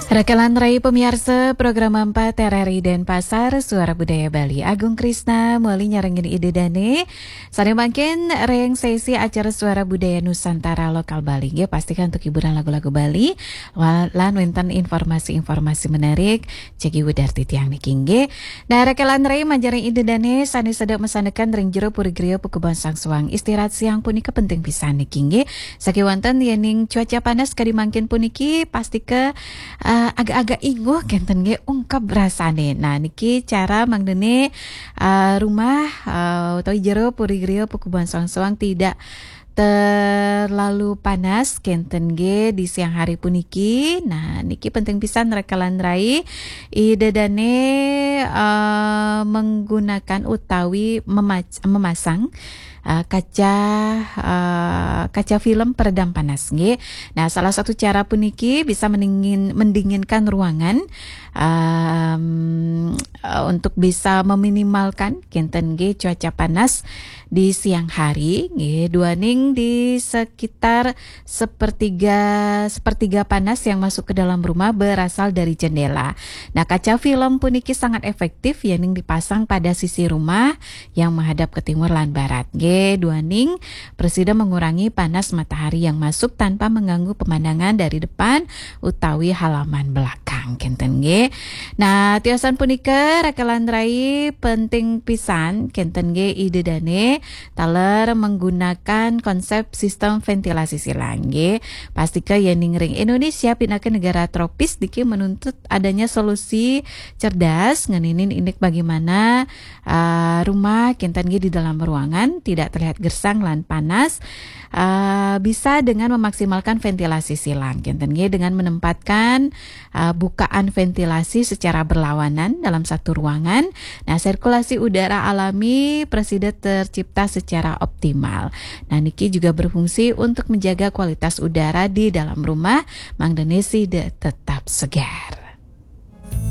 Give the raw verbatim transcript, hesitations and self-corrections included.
Rakalan rai pamiarsa program empat R R I Denpasar, Suara Budaya Bali. Agung Krisna, moli nyarengin Ida Dane. Sane mangkin ring sesi acara Suara Budaya Nusantara Lokal Bali. Nggih, pastikan untuk hiburan lagu-lagu Bali. Wa-, lan wenten informasi-informasi menarik, jagi wedar titiang niki nggih. Nah, rakalan rai manjing ring Ida Dane, sane sedek masandekan ring jero puri griya Pakuban Sang Suang. Istirahat siang punika penting pisan niki nggih. Sakewanten yening cuaca panas kadi mangkin puniki, pastika, eh, agak-agak inguh kenten nggih, ungkeb rasane. Nah, niki cara mangdene, eh, rumah, eh, utawi jero puri griya Pakuban Sang Suang tidak terlalu panas kenten nggih di siang hari puniki. Nah, niki penting pisan rakalan rai. Ida Dane, eh, menggunakan utawi memac-, memasang, eh, kaca, eh, kaca film peredam panas nggih. Nah, salah satu cara puniki bisa mendingin-, mendinginkan ruangan, em, eh, untuk bisa meminimalkan kenten nggih cuaca panas di siang hari nggih, duaning di sekitar sepertiga, sepertiga panas yang masuk ke dalam rumah berasal dari jendela. Nah, kaca film puniki sangat efektif yening dipasang pada sisi rumah yang menghadap ke timur lan barat nggih, duaning prasida mengurangi panas matahari yang masuk tanpa mengganggu pemandangan dari depan utawi halaman belakang kenten nggih. Nah, tiosan punika rakalan rai penting pisan kenten nggih Ida Dane taler menggunakan konsep sistem ventilasi silang nggih. Pastika yening ring Indonesia pinaka negara tropis niki menuntut adanya solusi cerdas ngeninin indik bagaimana, eh, rumah kenten nggih di dalam ruangan tidak terlihat gersang lan panas, eh, bisa dengan memaksimalkan ventilasi silang kenten nggih dengan menempatkan, eh, bukaan ventilasi secara berlawanan dalam satu ruangan. Nah, sirkulasi udara alami prasida tercipta secara optimal. Nah, niki juga berfungsi untuk menjaga kualitas udara di dalam rumah, mangdene sida tetap segar.